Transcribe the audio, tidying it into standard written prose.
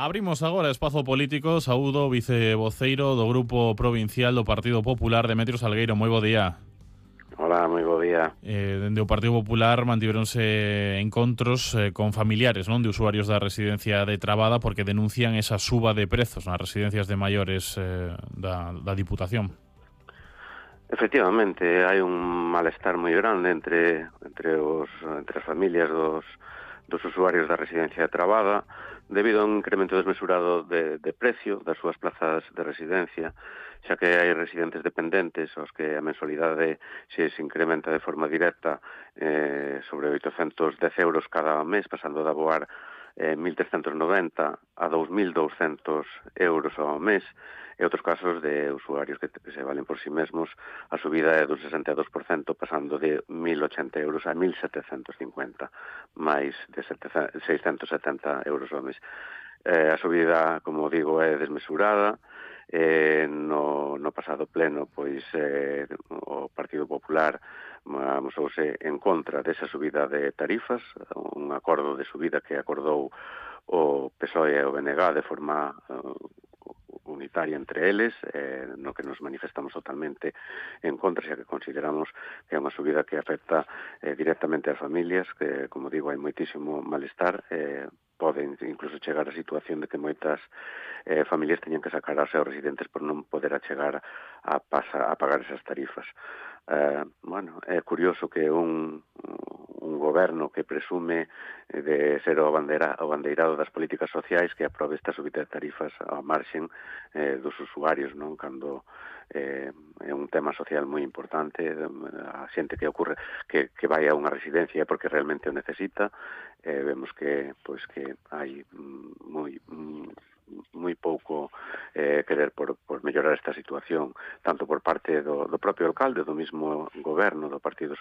Abrimos agora espazo político. Saúdo vicevoceiro do Grupo Provincial do Partido Popular, Demetrio Salgueiro. Moi bo día. Hola, moi bo día. Dende o Partido Popular mantiveronse encontros con familiares, non, de usuarios da residencia de Trabada porque denuncian esa suba de prezos nas residencias de maiores da Diputación. Efectivamente, hai un malestar moi grande entre as familias dos usuarios da residencia de Trabada debido a un incremento desmesurado de precio das súas plazas de residencia, xa que hai residentes dependentes aos que a mensualidade se incrementa de forma directa sobre 810 euros cada mes, pasando de aboar 1.390 a 2.200 euros ao mes, e outros casos de usuarios que se valen por si mesmos, a subida é dun 62%, pasando de 1.080 euros a 1.750, máis de 670 euros ao mes. A subida, como digo, é desmesurada. No pasado pleno, pois o Partido Popular amosouse en contra desa subida de tarifas, un acordo de subida que acordou o PSOE e o BNG de forma unitaria entre eles, no que nos manifestamos totalmente en contra, xa que consideramos que é unha subida que afecta directamente ás familias, que, como digo, hai moitísimo malestar, pode incluso chegar a situación de que moitas familias teñen que sacar aos seus residentes por non poder achegar a pagar esas tarifas. Bueno, é curioso que un goberno que presume de ser o abandeirado das políticas sociais que aprobe esta subida de tarifas ao marxen dos usuarios, non? Cando é un tema social moi importante, a xente que ocorre que vai a unha residencia porque realmente o necesita. Vemos que hai moi pouco querer por mellorar esta situación, tanto por parte do propio alcalde, do mismo goberno do Partido